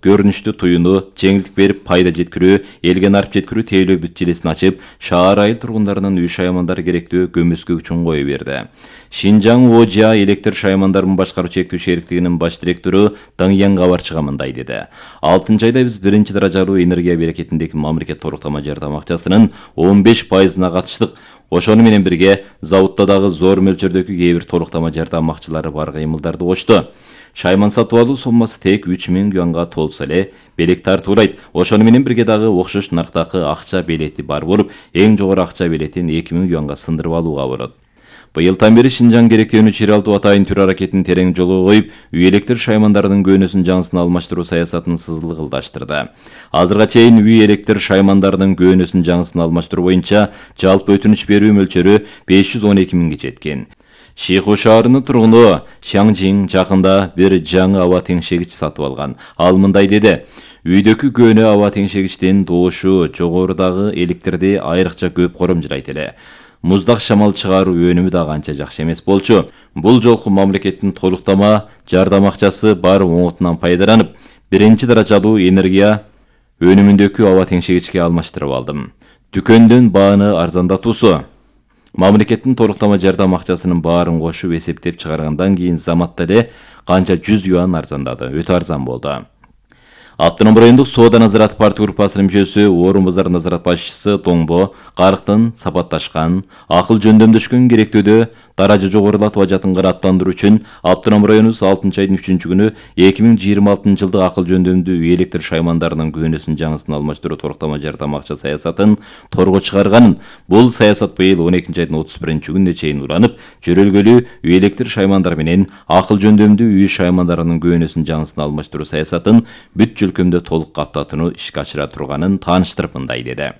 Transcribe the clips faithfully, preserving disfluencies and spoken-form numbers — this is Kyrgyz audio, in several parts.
көрүнүштүү туюну, жеңилдик берип пайда жеткирүү, элге нарып жеткирүү тейлөө бүт желесин ачып, шаар айыл тургундарынын үй шаймандары керектүү көмөскө үчүн кое берди. Шинжаң Ожа электр шаймандарын башкаруу чектүү шериктигинин баш директору Даңян Кабарчыга мындай деди. алтынчы айда биз биринчи даражалуу энергия берекетиндеги мамлекет торуктама жардам акчасынын он беш пайызына катыштык. Ошону менен бирге заводдо дагы зор мөлчөрдөгү кээ бир торуктама жардам акчалары бар кыймылдарды кочту. Шайман сатып алуу соммасы тек үч миң юанга толсо эле белек тартуулайт. Ошону менен бирге дагы окшош нарктагы акча белети бар болуп, эң жогору акча белетин эки миң юанга сындырып алууга болот. Быйылдан бери Шинжаң керектөөнү чыйралтуу атайын түр аракетин терең жолго коюп, үй электр шаймандарынын көөнөсүн жаңысына алмаштыруу саясатын сызылгылдаштырды. Азырга чейин үй электр шаймандарынын көөнөсүн жаңысына алмаштыруу боюнча жалпы өтүнүч берүү мөлчөрү беш жүз он эки миңге жеткен. Шиху шаарынын тургуну Шаңжиң жакында бир жаңы аба теңшегич сатып алган. Ал мындай деди: үйдөгү көөнө аба теңшегичтин доошу жогорудагы электрди айрыкча көп коромжурайт эле. Муздак шамал чыгаруу өнүмү да канча жакшы эмес болчу. Бул жолку мамлекеттин толуктама жардам акчасы бар оңотунан пайдаланып, биринчи даражалуу энергия өнүмүндөгү аба теңшегичке алмаштырып алдым. Дүкөндөн бааны арзандатуусу. Мамлекеттин толуктама жардам акчасынын баарын кошуп эсептеп чыгаргандан кийин заматта эле канча жүз юан арзандады. Өтө арзан болду. Автоном райондук соода назарат партия группасынын мүчөсү, Орун базар назарат башчысы Тоңбо Карыктын сапатташкан, акыл жөндөмдөшкөн керектөөдө даража жогорулатып ажатын кыраттандыруу үчүн Автоном районубуз алтынчы айдын үчүнчү күнү эки миң жыйырма алтынчы жылдык акыл жөндөмдүү үй электр шаймандарынын көөнөсүн жаңысын алмаштыруу торуктама жардам акча саясатын торго чыгарганын, бул саясат быйыл он экинчи айдын отуз биринчи күнүнө чейин уланып, жөрөлгөлүү үй электр шаймандар менен акыл жөндөмдүү үй шаймандарынын көөнөсүн жаңысын алмаштыруу саясатын бүт өлкөмдө толук каптатууну ишке ашыра турганын тааныштырып мындай деди.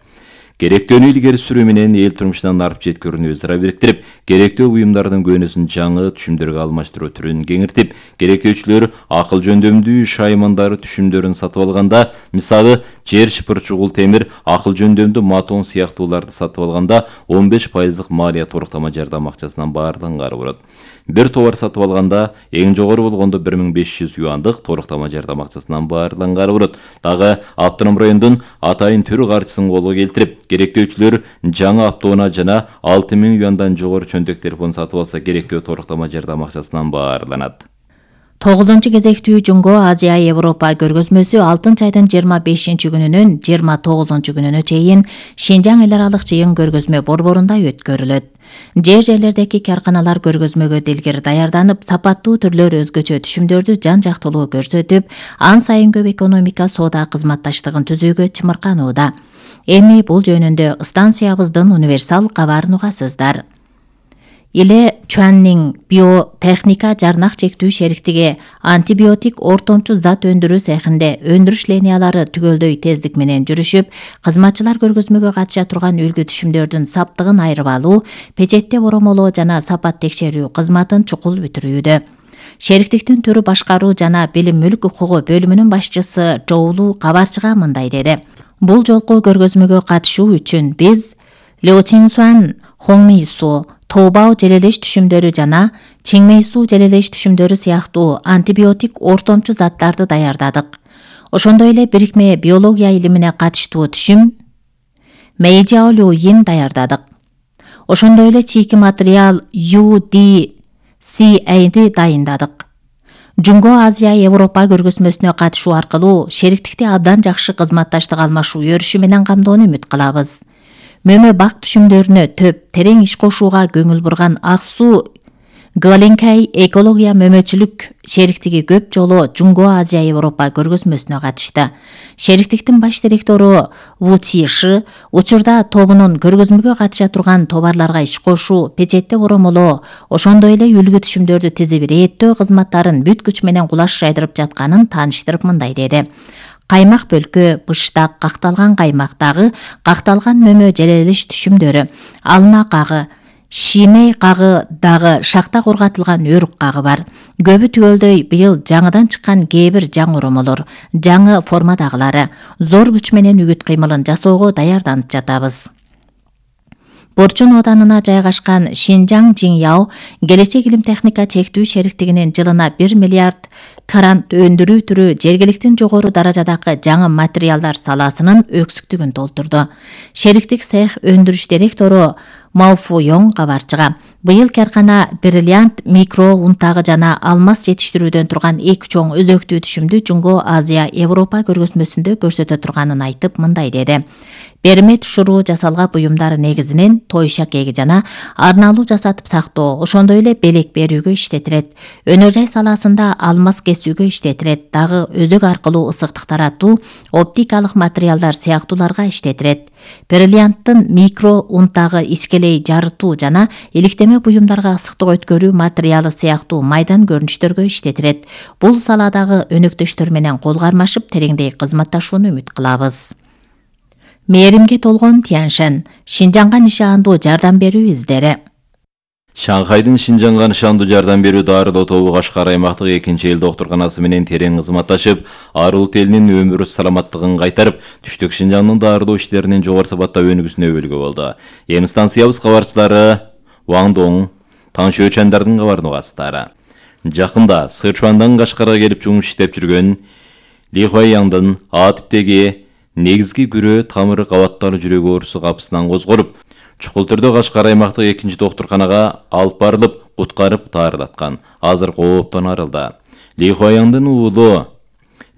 Керектөөнү илгери сүрүү менен эл турмушунан нарып жеткирүүнү өзара бириктирип, керектөө буюмдардын көөнөсүн жаңы түшүмдөргө алмаштыруу түрүн кеңиртип, керектөөчүлөр акыл жөндөмдүү шаймандары түшүмдөрүн сатып алганда, мисалы жер шыпыр чугул темир, акыл жөндөмдүү матон сыяктууларды сатып алганда он беш пайыздык малия торуктама жардам акчасынан баарланганы болот. Бир товар сатып алганда эң жогору болгондо бир миң беш жүз юандык торуктама жардам акчасынан баарланганы болот. Дагы Автоном райондун атайын түр каржысын колго келтирип, керектөөчүлөр жаңы автоунаа жана алты миң юандан жогору чөнтөк телефон сатып алса керектөө торуктама жардам акчасынан баарланат. тогузунчу кезектүү Жунго Азия Европа көргөзмөсү алтынчы айдын жыйырма бешинчи күнүнөн жыйырма тогузунчу күнүнө чейин Шинжаң эл аралык жыйын көргөзмө борборунда өткөрүлөт. Жер жерлердеги карканалар көргөзмөгө делгер даярданып, сапаттуу түрлөр өзгөчө түшүмдөрдү жан жактылуу көрсөтүп, ан сайын көп экономика соода кызматташтыгын түзүүгө чымырканууда. Эми бул жөнүндө станциябыздын универсал кабарын угасыздар. Иле Чуаннин биотехника жарнак чектүү шериктиги антибиотик ортомчу зат өндүрүү цехинде өндүрүш линиялары түгөлдөй тездик менен жүрүшүп, кызматчылар көргөзмөгө катыша турган үлгү түшүмдөрдүн саптыгын айырып алуу, печетте боромолоо жана сапат текшерүү кызматын чукул бүтүрүүдө. Шериктиктин түрү башкаруу жана билим мүлк укугу бөлүмүнүн башчысы Жоулу Кабарчыга мындай деди: Бул жолку көргөзмөгө катышуу үчүн биз Леочингсуан, Хоңмейсу, Тоубао желелеш түшүмдөрү жана Чиңмейсу желелеш түшүмдөрү сыяктуу антибиотик ортомчу заттарды даярдадык. Ошондой эле бирикме биология илимине катыштуу түшүм Мэйжаолюин даярдадык. Ошондой эле чийки материал ю ди си эйди дайындадык. Жунго Азия Европа көргөзмөсүнө катышуу аркылуу шериктикти абдан жакшы кызматташтык алмашуу өрүшү менен камдоону үмүт кылабыз. Мөмө бак түшүмдөрүнө төп терең иш кошууга көңүл бурган Ак суу Галенкай экология мөмөчүлүк шериктиги көп жолу Жунго Азия Европа көргөзмөсүнө катышты. Шериктиктин баш директору Ву Чиши учурда тобунун көргөзмөгө катыша турган товарларга иш кошуу, печетте боромолоо, ошондой эле үлгү түшүмдөрдү тизип иреттөө кызматтарын бүт күч менен кулаш жайдырып жатканын тааныштырып мындай деди: Каймак бөлкө, быштак, какталган каймак дагы, какталган мөмө желелеш түшүмдөрү, алма кагы, шимей кагы дагы, шакта корготулган өрүк кагы бар. Көбү түгөлдөй быйыл жаңыдан чыккан кээ бир жаңы оромолор, жаңы формадагылары, зор күч менен үгүт кыймылын жасоого даярданып жатабыз. Борчун оданына жайгашкан Шинжаң Жиңяо келечек илим техника чектүү шериктигинин жылына бир миллиард грант өндүрүү түрү жергиликтин жогору даражадагы жаңы материалдар саласынын өксүктүгүн толтурду. Шериктик цех өндүрүш директору Мауфуйоң кабарчыга быйыл каркана бриллиант, микро унтагы жана алмаз жетиштирүүдөн турган эки чоң өзөктүү түшүмдү Жунго Азия Европа көргөзмөсүндө көрсөтө турганын айтып мындай деди. Бермет шуруу жасалга буюмдар негизинен той шакеги жана арналуу жасатып сактоо, ошондой эле белек берүүгө иштетилет. Өнөр жай саласында алмаз кесүүгө иштетилет, дагы өзөк аркылуу ысыктык таратуу, оптикалык материалдар сыяктууларга иштетилет. Бриллианттын микро унтагы ичкелей жарытуу жана иликтеме буюмдарга ысыктык өткөрүү материалы сыяктуу майдан көрүнүштөргө иштетилет. Бул саладагы өнөктөштөр менен кол кармашып тереңдей кызматташууну үмүт кылабыз. Мээримге толгон Тяньшань, Шинжаңга нишандуу жардам берүү издери. Шанхайдын Шинжаңга нишандуу жардам берүү дарылоо тобу Кашкар аймактык экинчи эл доктурканасы менен терең кызматташып, ар улут элинин өмүр саламаттыгын кайтарып, түштүк Шинжаңдын дарылоо иштеринин жогору сапаттап өнүгүүсүнө өбөлгө болду. Эми станциябыз кабарчылары Ван Доң, Таң Шөчандардын кабарын угасыздар. Жакында Сычуандан Кашкарга келип жумуш иштеп жүргөн Ли Хуайяңдын А типтеги негизги күрөө тамыры кабатталуу жүрөк оорусу капысынан козголуп, чукул түрдө Кашкар аймактык экинчи доктурканага алып барылып, куткарып таарылаткан. Азыр кооптон арылды. Ли Хуайяңдын уулу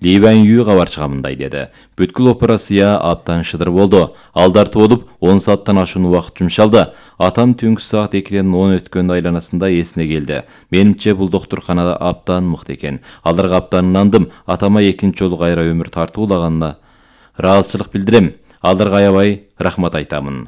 Ли Ванью кабарчыга мындай деди. Бүткүл операция аптан шыдыр болду. Алдарты болуп он сааттан ашуун убакыт жумшалды. Атам түнкү саат экиден он өткөн айланасында эсине келди. Менимче бул доктурканада аптан мыкты экен. Аларга аптан ынандым. Атама экинчи жолу кайра өмүр тартуулаганына ыраазычылык билдирем. Аларга аябай рахмат айтамын.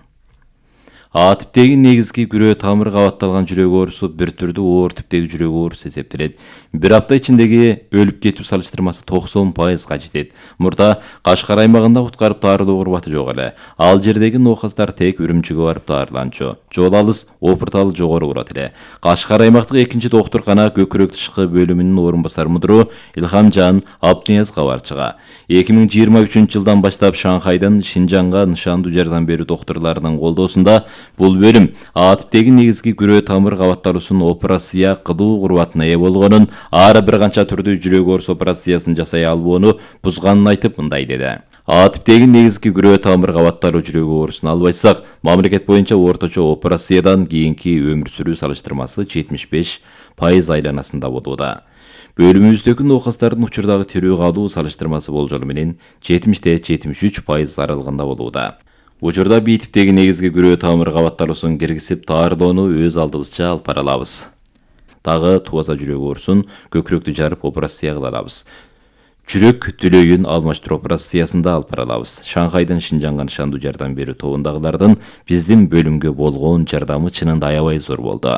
А типтеги негизги күрөө тамыры кабатталган жүрөк оорусу бир түрдүү оор типтеги жүрөк оорусу эсептелет. Бир апта ичиндеги өлүп кетүү салыштырмасы токсон пайызга жетет. Мурда Кашкар аймагында куткарып таарылуу курбаты жок эле. Ал жердеги ноокастар тек Үрүмчүгө барып таарыланчу. Жол алыс, опырталы жогору турат эле. Кашкар аймактык экинчи доктуркана көкүрөк тышкы бөлүмүнүн орун басар мудуру Илхамжан Абднияз кабарчыга эки миң жыйырма үчүнчү жылдан баштап Шанхайдын Шинжаңга нышандуу жардам берүү доктурларынын колдоосунда бул бөлүм А типтеги негизги күрөө тамыр кабатталуусун операция кылуу курбатына ээ болгонун, ары бир канча түрдүү жүрөк оорусу операциясын жасай албоону бузганын айтып мындай деди. А типтеги негизги күрөө тамыр кабатталуу жүрөк оорусун албайсак, мамлекет боюнча орточо операциядан кийинки өмүр сүрүү салыштырмасы жетимиш беш пайыз айланасында болууда. Бөлүмүбүздөгү ноокастардын учурдагы тирүү калуу салыштырмасы болжолу менен жетимиште жетимиш үч пайыз аралыгында болууда. Учурда бир типтеги негизги күрөө тамыр кабатталуусун киргизип таарылоону өз алдыбызча алып бара алабыз. Дагы тубаса жүрөк оорусун көкүрөктү жарып операция кыла алабыз. Жүрөк түлөйүн алмаштыруу операциясында алып бара алабыз. Шанхайдын Шинжаңга нышандуу жардам берүү тобундагылардын биздин бөлүмгө болгон жардамы чынында аябай зор болду.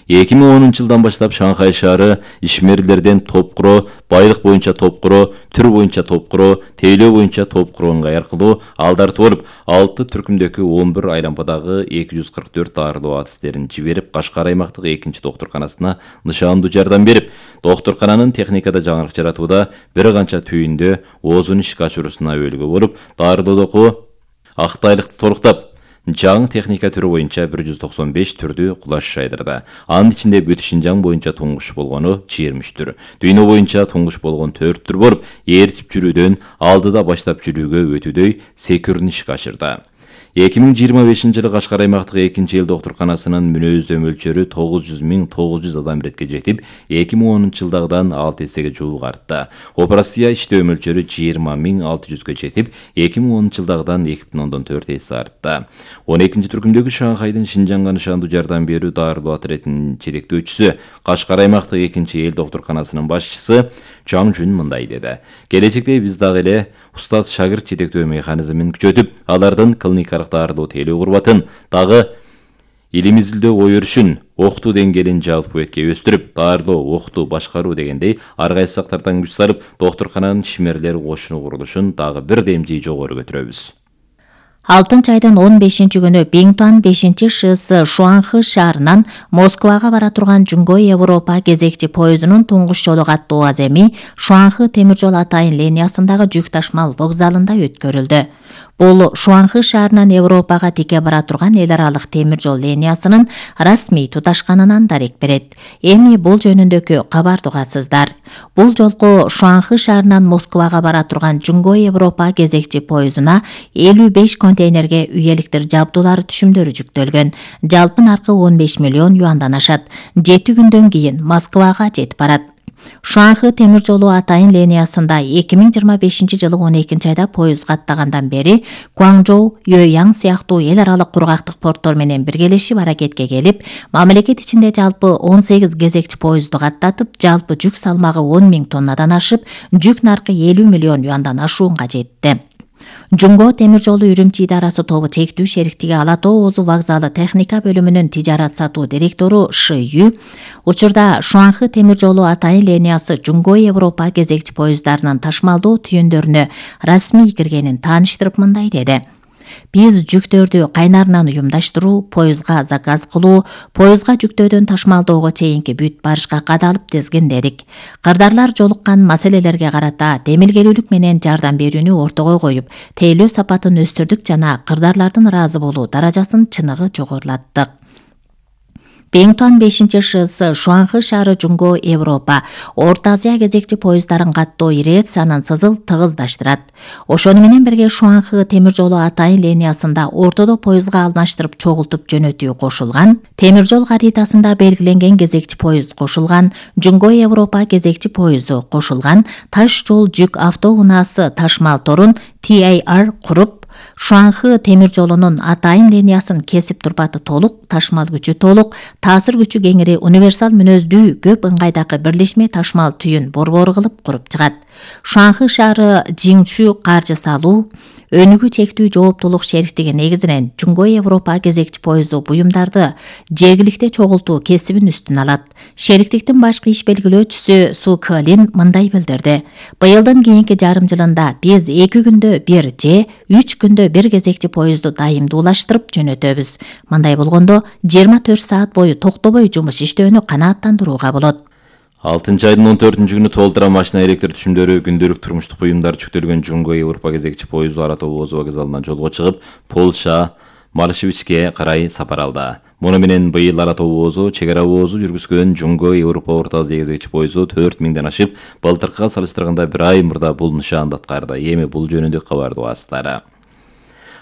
эки миң онунчу жылдан баштап Шанхай шаары ишмерлерден топ куроо, байлык боюнча топ куроо, түр боюнча топ куроо, тейлөө боюнча топ куроо ыңгай аркылуу алдарты болуп, алты түркүмдөгү он бир айлампадагы эки жүз кырк төрт дарылоо адистерин жиберип, Кашкар аймактык экинчи доктурканасына нышандуу жардам берип, доктуркананын техникада жаңылык жаратууда бир канча түйүндө оозун ишке ашыруусуна өбөлгө болуп, дарылоодогу актайлыкты толуктап, жаңы техника түрү боюнча бир жүз токсон беш түрдүү кулаш жайдырды. Анын ичинде бүт Шинжаң боюнча туңгуш болгону жыйырма үч түр. Дүйнө боюнча туңгуш болгон төрт түр болуп, ээрчип жүрүүдөн алдыда баштап жүрүүгө өтүүдөй секирүүнү ишке ашырды. эки миң жыйырма бешинчи жылы Кашкар аймактык экинчи эл доктурканасынын мүнөздөй мөлчөрү тогуз жүз миң тогуз жүз адам иретке жетип, эки миң онунчу жылдагыдан алты эсеге жуук артты. Операция иштөө мөлчөрү жыйырма миң алты жүзгө жетип, эки миң онунчу жылдагыдан эки бүтүн ондон төрт эсе артты. он экинчи түркүмдөгү Шанхайдын Шинжаңга нышандуу жардам берүү дарылоо отрядынын жетектөөчүсү, Кашкар аймактык экинчи эл доктурканасынын башчысы Чаң Жун мындай деди. Келечекте биз дагы эле устат шагырт жетектөө механизмин күчөтүп, алардын клиникалык дарылоо тейлөө курбатын дагы илимизилдөө ой өрүшүн, окутуу деңгээлин жалпы бетке өстүрүп, дарылоо, окутуу, башкаруу дегендей ар кайсы сактардан күч салып, доктуркананын ишмерлер кошуну курулушун дагы бир демжи жогору көтөрөбүз. алтынчы айдын он бешинчи күнү Бингтуан бешинчи ШС Шуанхы шаарынан Москвага бара турган Жунгой Европа кезекчи поездунун туңгуш жолу каттуу аземи Шуанхы темир жол атайын линиясындагы жүк ташмал вокзалында өткөрүлдү. Бул Шуанхы шаарынан Европага тике бара турган эл аралык темир жол линиясынын расмий туташканынан дарек берет. Эми бул жөнүндөгү кабарды угасыздар. Бул жолку Шуанхы шаарынан Москвага бара турган Жунгой Европа кезекчи поездуна элүү беш контейнерге үй электр жабдуулары түшүмдөрү жүктөлгөн. Жалпы наркы он беш миллион юандан ашат. жети күндөн кийин Москвага жетип барат. Шуанхы темир жолу атайын линиясында эки миң жыйырма бешинчи жылы он экинчи айда поезд каттагандан бери Гуанчжоу, Юэян сыяктуу эл аралык кургактык порттор менен биргелешип аракетке келип, мамлекет ичинде жалпы он сегиз кезекчи поездду каттатып, жалпы жүк салмагы он миң тоннадан ашып, жүк наркы элүү миллион юандан ашуунга жетти. Жунго темир жолу Үрүмчи идарасы тобу чектүү шериктиги Ала Тоо Оозу вокзалы техника бөлүмүнүн тижарат сатуу директору Ш Ю учурда Шуанхы темир жолу атайын линиясы Жунгой Европа кезекчи поезддарынын ташмалдоо түйүндөрүнө расмий киргенин тааныштырып мындай деди. Биз жүктөрдү кайнарынан уюмдаштыруу, поездга заказ кылуу, поездга жүктөөдөн ташмалдоого чейинки бүт барышка кадалып тизгиндедик. Кырдаарлар жолуккан маселелерге карата демилгелүүлүк менен жардам берүүнү ортого коюп, тейлөө сапатын өстүрдүк жана кырдаарлардын ыраазы болуу даражасын чыныгы жогорулаттык. Бингтуан бешинчи ШС Шуанхы шаары Жунго Европа Орто Азия кезекчи поезддарын каттоо ирациянын сызыл тыгыздаштырат. Ошону менен бирге Шуанхы темир жолу атайын линиясында ортодо поездга алмаштырып чогултуп жөнөтүү кошулган, темир жол каритасында белгиленген кезекчи поезд кошулган, Жунго Европа кезекчи поезду кошулган, таш жол жүк автоунаасы ташмал торун Т А Р куруп, Шуанхы темир жолунун атайын линиясын кесип турпаты толук, ташмал күчү толук, таасир күчү кеңири универсал мүнөздүү көп ыңгайдагы бирлешме ташмал түйүн борбору кылып куруп чыгат. Шуанхы шаары Жиңчү каржы салуу, өнүгүү чектүү жооптулук шериктиги негизинен Жунгой Европа кезекчи поезду буюмдарды жергиликте чогултуу кесибин үстүн алат. Шериктиктин башкы иш белгилөөчүсү Су Кылин мындай билдирди. Быйылдын кийинки жарым жылында биз эки күндө бир же үч күндө бир кезекчи поездду дайымдуулаштырып жөнөтөбүз. Мындай болгондо жыйырма төрт саат бою токтобой жумуш иштөөнү канааттандырууга болот. алтынчы айдын он төртүнчү күнү толтура машина электр түшүмдөрү күндүлүк турмуштук буюмдар жүктөлгөн Жунго Европа кезекчи поезду Ала Тоо Оозу вокзалынан жолго чыгып, Польша, Малышевичке карай сапар алды. Муну менен быйыл Ала Тоо Оозу чек ара оозу жүргүзгөн Жунго Европа Орто Азия кезекчи поезду төрт миңден ашып, былтыркыга салыштырганда бир ай мурда бул нышаанды аткарды. Эми бул жөнүндө кабарды угасыздар.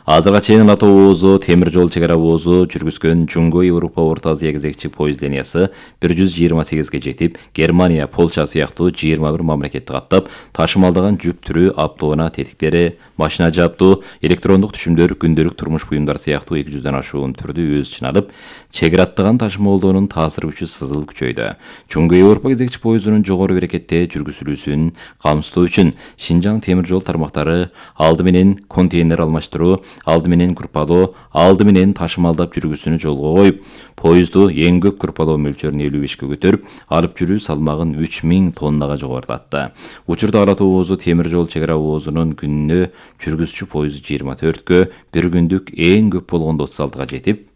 Азырга чейин Ала Тоо Оозу темир жол чек ара оозу жүргүзгөн Жунго Европа Орто Азия кезекчи поезд линиясы бир жүз жыйырма сегизге жетип, Германия, Польша сыяктуу жыйырма бир мамлекетти каттап, ташымалдаган жүк түрү, автоунаа тетиктери, машина жабдуу, электрондук түшүмдөр, күндүлүк турмуш буюмдар сыяктуу эки жүздөн ашуун түрдү өз ичине алып, чегираттаган ташымалдоонун таасир күчү сызыл күчөйдү. Жунго Европа кезекчи поездунун жогору берекетте жүргүзүлүүсүн камсыздоо үчүн Шинжаң темир жол тармактары алды менен контейнер алмаштыруу, алды менен группалоо, алды менен ташымалдап жүргүсүнү жолго коюп, поездду эң көп группалоо мөлчөрүн элүү бешке көтөрүп, алып жүрүү салмагын үч миң тоннага жогорулатты. Учурда Ала Тоо Оозу темир жол чек ара оозунун күнүнө жүргүзчү поезду жыйырма төрткө, бир күндүк эң көп болгондо отуз алтыга жетип,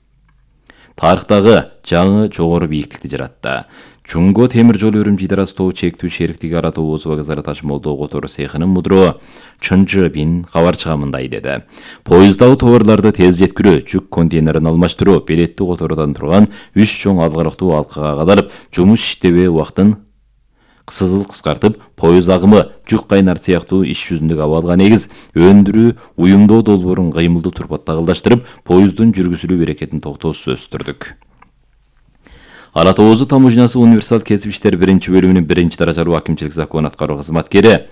тарыхтагы жаңы жогору бийиктикти жаратты. Жунго темир жол Үрүмчи идарасы тобу чектүү шериктиги Ала Тоо Оозу вокзалы ташымалдоо котору цехынын мудуру Чын Жы Бин кабарчыга мындай деди. Поезддагы товарларды тез жеткирүү, жүк контейнерин алмаштыруу, билетти которудан турган үч чоң алгарактуу алкага кадалып, жумуш иштебөө убактын сызыл кыскартып, поезд агымы, жүк кайнар сыяктуу иш жүзүндөгү абалга негиз өндүрүү, уюмдоо долбоорун кыймылдуу турпатта кылдаштырып, поезддун жүргүзүлүү берекетин токтоосуз өстүрдүк. Ала Тоо Оозу таможнясы универсал кесип иштер биринчи бөлүмүнүн биринчи даражалуу акимчилик закон аткаруу кызматкери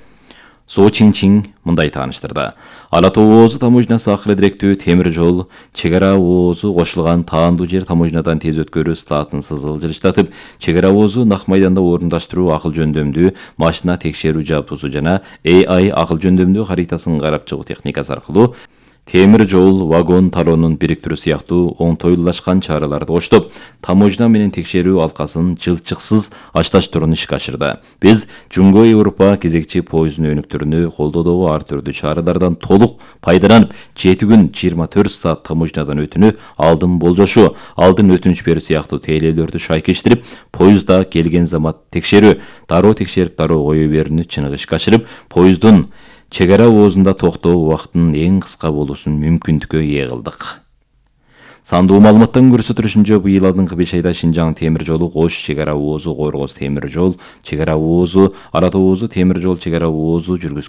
Со Чин Чин мындай тааныштырды. Ала Тоо Оозу таможнясы акыры директүү темир жол чек ара оозу кошулган таандуу жер таможнядан тез өткөрүү статын сызыл жылыштатып, чек ара оозу нак майданда орундаштыруу акыл жөндөмдүү машина текшерүү жабдуусу жана A I акыл жөндөмдүү харитасын карап чыгуу техникасы аркылуу темир жол, вагон талоонун бириктирүү сыяктуу оңтойлуулашкан чараларды коштоп, таможня менен текшерүү алкасын жылчыксыз ашташтыруун ишке ашырды. Биз Жумго Европа кезекчи поезддун өнүктөрүнү колдоодогу ар түрдүү чаралардан толук пайдаланып, жети күн жыйырма төрт саат таможнядан өтүүнү алдын болжошу, алдын өтүнүч берүү сыяктуу тейлөөлөрдү шайкештирип, поездда келген замат текшерүү, дароо текшерип дароо кое берүүнү чыныгы ишке ашырып, поезддун чек ара оозунда токтоо убактынын эң кыска болуусун мүмкүндүккө ээ кылдык. Сандуу маалыматтан көрсөтүлүшүнчө, быйыл алдыңкы беш айда Шинжаң темир жолу Ош чек ара оозу, Коргоз темир жол чек ара оозу, Ара Тоозу темир жол чек ара оозу жүргүзгөн